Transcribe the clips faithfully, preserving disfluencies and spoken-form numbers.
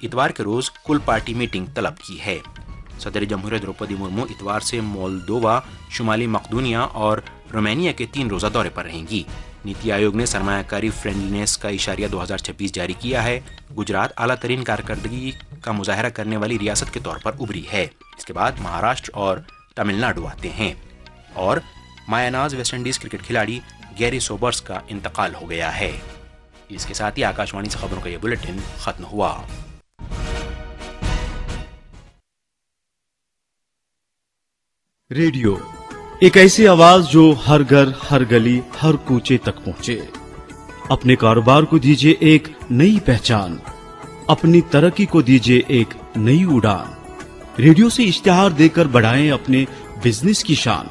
اتوار کے روز کل پارٹی میٹنگ طلب کی ہے۔ صدر جمہوریہ دروپدی مرمو اتوار سے مولدووا، شمالی مقدونیہ اور رومانیہ کے تین روزہ دورے پر رہیں گی۔ نیتی آیوگ نے سرمایہ کاری فرینڈلینس کا اشاریہ دو ہزار چھبیس جاری کیا ہے۔ گجرات اعلیٰ ترین کارکردگی کا مظاہرہ کرنے والی ریاست کے طور پر ابھری ہے۔ اس کے بعد مہاراشٹر اور تمل ناڈو آتے ہیں۔ اور مایاناز ویسٹ انڈیز کرکٹ کھلاڑی گیری سوبرس کا انتقال ہو گیا ہے۔ اس کے ساتھ ہی آکاشوانی سے خبروں کا یہ بلیٹن ختم ہوا۔ ریڈیو، ایک ایسی آواز جو ہر گھر، ہر گلی، ہر کوچے تک پہنچے۔ اپنے کاروبار کو دیجیے ایک نئی پہچان، اپنی ترقی کو دیجیے ایک نئی اڑان۔ ریڈیو سے اشتہار دے کر بڑھائیں اپنے بزنس کی شان۔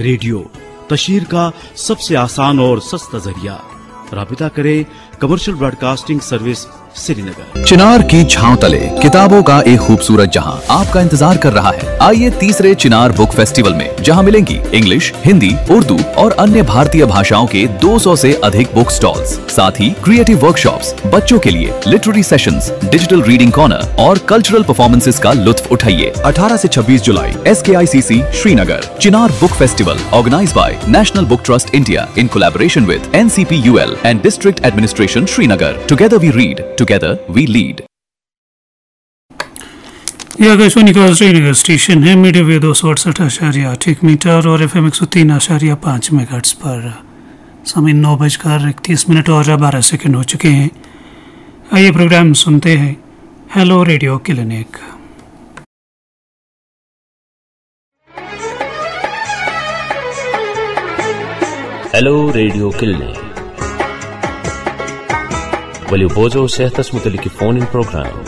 ریڈیو، تشہیر کا سب سے آسان اور سستا ذریعہ۔ رابطہ کریں کمرشل براڈکاسٹنگ سروس، سری نگر۔ چنار کی چھاؤں تلے کتابوں کا ایک خوبصورت جہاں آپ کا انتظار کر رہا ہے۔ آئیے تیسرے چنار بک فیسٹیول میں، جہاں ملیں گی انگلش، ہندی، اردو اور अन्य भारतीय भाषाओं के दो सौ से अधिक बुक स्टॉल्स, साथ ही क्रिएटिव वर्कशॉप्स, बच्चों के लिए literary sessions, digital reading corner और कल्चरल परफॉर्मेंसेस का लुत्फ उठाइए। अठारह से छब्बीस जुलाई, S K I C C, Srinagar. Chinar Book Festival, organized by National Book Trust India in collaboration with N C P U L and District Administration Srinagar. Together we read, together we lead. یہ آکاشوانی کا Srinagar station ہے، medium view دو سو اڑسٹھ اشاریہ آٹھ ایک metre اور F M ایک سو تین اشاریہ پانچ میگاہرٹز پر۔ سامعین، نو بج کر اکتیس منٹ اور بارہ سیکنڈ ہو چکے ہیں۔ آئیے پروگرام سنتے ہیں، hello radio clinic. Hello radio clinic. ؤلِو بوزو صحتس متعلق یہِ فون ان پروگرام۔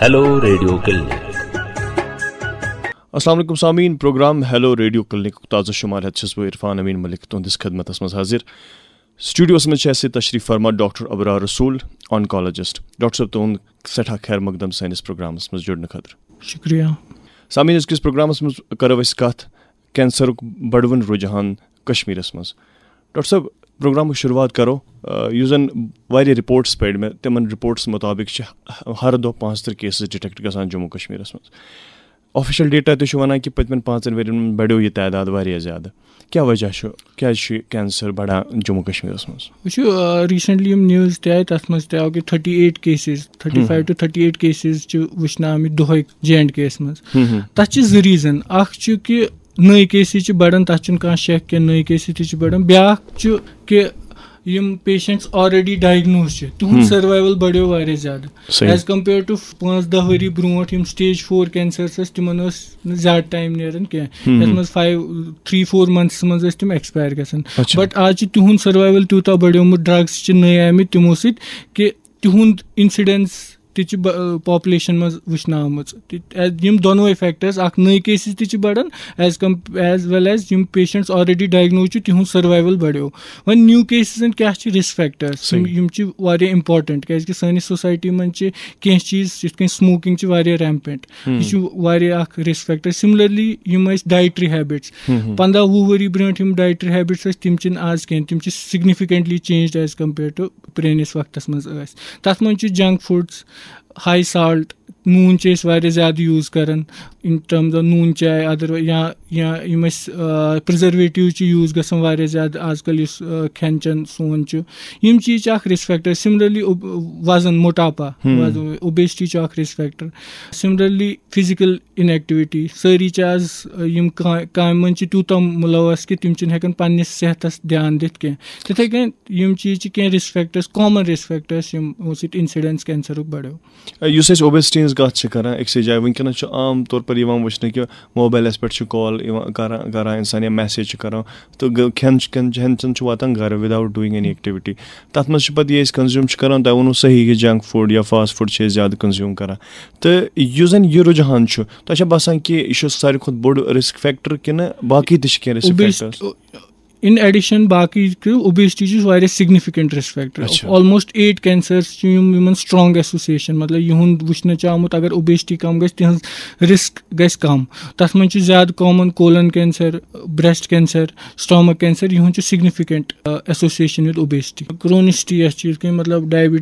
Hello radio clinic. السلام علیکم سامعین، پروگرام ہیلو ریڈیو کلینک تازٕ شمار ہیتھ چھُس بہٕ عرفان امین ملک تُہنٛدِس خدمتس منٛز حٲضِر۔ سٹوڈیوس منٛز چھِ اَسہِ تشریف فرما ڈاکٹر ابرار رسول، آنکالوجسٹ۔ ڈاکٹر صٲب، تُہُنٛد سٮ۪ٹھاہ خیر مقدم سٲنِس پروگرامس منٛز جُڑنہٕ خٲطرٕ۔ شکریہ۔ سامعین، أزکِس پروگرامس منٛز کرو أسۍ کتھ کینسرُک بڑوُن رجحان کشمیرس منٛز۔ ڈاکٹر صٲب، پروگرامٕچ شروٗعات کرو، آ، یُس زن واریاہ رپورٹس پرۍ مےٚ، تِمن رپورٹس مطابق چھِ ہر دۄہ پانٛژترٕہ کیسز ڈیٹیکٹ گژھان جموں کشمیرس منٛز۔ آفیشل ڈیٹا تہِ چھُ ونان کہِ پٔتمٮ۪ن پانٛژن ؤرین منٛز بڑیو یہِ تعداد واریاہ زیادٕ۔ کیٛاہ وجہ چھُ؟ کیٛازِ چھُ یہِ کینسر بڑان جموں کشمیرس منٛز؟ وٕچھِو، آ، ریسنٹلی یِم نیوز تہِ آیہِ، تتھ منٛز تہِ آو کہِ تھٔٹی ایٹ کیسز، تھٔٹی فایو ٹو تھٔٹی ایٹ کیسز چھِ وٕچھنہٕ آمٕتۍ دۄہے جے اینڈ کے یس منٛز۔ تتھ چھِ زٕ ریزن۔ اکھ چھُ کہِ نٔے کیسز چھِ بڑان، تتھ چھُنہٕ کانٛہہ شک کینٛہہ، نٔے کیسز تہِ چھِ بڑان۔ بیاکھ چھُ کہِ یِم پیشنٹس آلریڈی ڈائگنوز چھِ، تِہُنٛد سروائیول بڑیو واریاہ زیادٕ۔ صحیح۔ As compare to پانٛژھ دَہ ؤری برونٛٹھ یِم سٹیج فور کینسرس ٲسۍ، تِمن ٲس نہٕ زیادٕ ٹائم نیران کینٛہہ۔ یتھ منٛز فایو، تھری فور منتھس منٛز ٲسۍ تِم ایکسپائر گژھان۔ اچھا۔ بٹ آز چھُ تِہُنٛد سروائیول تیوٗتاہ بڑیومُت ڈرگس چھِ نٔے آمٕتۍ تِمو سۭتۍ کہِ تِہُنٛد انسیڈنس تہِ چھِ ب-، پاپولیشن منٛز وٕچھنہٕ آمٕژ۔ تہِ-، یِم دۄنوَے فیکٹرز، اکھ نٔے کیسز تہِ چھِ بڑان، as com-، as well as یِم پیشنٹس آلریڈی ڈائگنوز چھِ، تِہُنٛد سروائیول بڑیو۔ وۄنۍ نیو کیسزن کیٛاہ چھِ رسک فیکٹرز؟ یِم، صحیح۔ یِم چھِ واریاہ امپورٹنٹ، کیازِ کہِ سٲنِس سوسایٹی منٛز چھِ کینٛہہ چیٖز یِتھ کٔنۍ سموکنگ چھِ واریاہ ریمپینٹ، یہِ چھُ واریاہ اکھ رسک فیکٹر۔ سملرلی یِم ٲسۍ ڈائٹری ہیبٹس، پنٛداہ وُہ ؤری برونٛٹھ یِم ڈائٹری ہیبٹس ٲسۍ، تِم چھِنہٕ آز کینٛہہ، تِم چھِ significantly changed as compare to پرٛٲنِس وقتس منٛز ٲسۍ۔ تتھ منٛز چھِ جنک فوڈس، ہائی سالٹ، نوٗن چھِ أسۍ واریاہ زیادٕ یوٗز کران، in terms of نوٗن چاے، ادر یا یا یِم أسۍ، آ، پرزرویٹیو چھِ یوٗز گژھان واریاہ زیادٕ آز کل، یُس، آ، کھٮ۪ن چٮ۪ن سون چھُ، یِم چیٖز چھِ اکھ رسک فیکٹر۔ سملرلی وزن، موٹاپا، وزن، اوبیسٹی چھُ اکھ رسک فیکٹر۔ سملرلی فزیکل انیکٹیویٹی، سٲری چھِ آز، آ، یِم کا-، کامہِ منٛز چھِ تیوٗتاہ مُلوث کہِ تِم چھِنہٕ ہٮ۪کان پننِس صحتس دھیان دِتھ کینٛہہ۔ تِتھے کٔنۍ یِم چیٖز چھِ کینٛہہ risk factors, common risk factors, یِمو سۭتۍ انسیڈنس کینسرُک بڑیو۔ یُس أسۍ اوبیسٹی ہٕنٛز کتھ چھِ کران أکسٕے جایہِ، وٕنکیٚنس چھُ عام طور پر یِوان وٕچھنہٕ کہِ موبایلس پٮ۪ٹھ چھُ کال یِوان کران، کران انسان یا میسج چھُ کران، تہٕ گ-، کھٮ۪ن چھُ، کھٮ۪ن، کھٮ۪ن چٮ۪ن چھُ واتان گرٕ without doing any activity۔ تتھ منٛز چھُ پتہٕ یہِ أسۍ کنزیوٗم چھِ کران، تۄہہِ ووٚنوُ صحیح کہِ جنک فوڈ یا فاسٹ فوڈ چھِ أسۍ زیادٕ کنزیوٗم کران۔ تہٕ یُس زن یہِ رُجحان چھُ، تۄہہِ چھا باسان کہِ یہِ چھُ ساروی کھۄتہٕ بوٚڑ رسک فیکٹر کِنہٕ باقٕے تہِ چھِ کینٛہہ رسک فیکٹرز؟ In addition باقٕے کہِ obesity چھُ واریاہ significant risk factor. اچھا. Almost eight cancers چھِ یِم یِمن strong association, مطلب یِہُنٛد وٕچھنہٕ چھُ آمُت اگر obesity کم گژھِ تِہنٛز risk گژھِ کم. تتھ منٛز چھُ زیادٕ common colon cancer, breast cancer, stomach cancer, یِہُنٛد چھُ significant association with obesity. Chronicity یۄس چھِ یِتھ کٔنۍ مطلب diabetes